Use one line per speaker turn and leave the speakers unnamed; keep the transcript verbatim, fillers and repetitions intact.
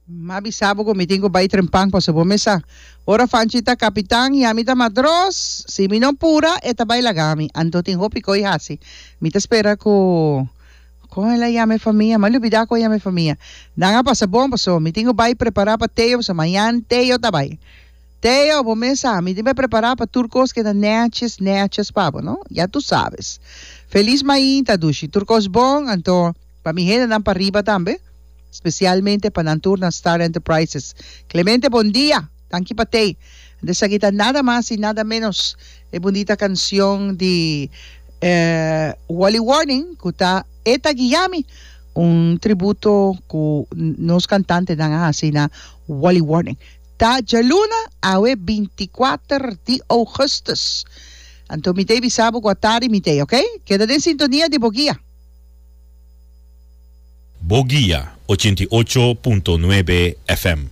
M'a bisa bo ku mi tin ku bai trempan paso bo mes sa. Ora Fanchi ta kapitan i ami ta matros, si mi no pura e ta bai laga mi. Anto tin hopi koi hasi. Mi ta spera ku kon el a yama e famia? M'a lubida kon a yama e famia. Nan a pasa bon paso mi tin ku bai prepara pa Teo paso mañan Teo ta bai. Teo, bo mes sa, mi tin bai prepara pa tur kos keda nètjes nètjes pa bo, no? Ya tu sabes. Felis mainta, dushi. Tur kos bon, anto pa mi hendenan pariba tambe. Spesialmente pa nan tur na Star Enterprises. Clemente bon dia! Danki pa tei. Esaki ta nada mas y nada menos e bunita cancion di Wally Warning cu ta E Ta Guiami, un tributo cu nos cantantenan a haci na Wally Warning. Ta djaluna awe binti kuater di augustus. Anto mi ta bisa bo cu atardi mi ta, ok? Keda den sintonia di Bo Guia.
Bo Guia, ochenta i ocho punto nuebe F M.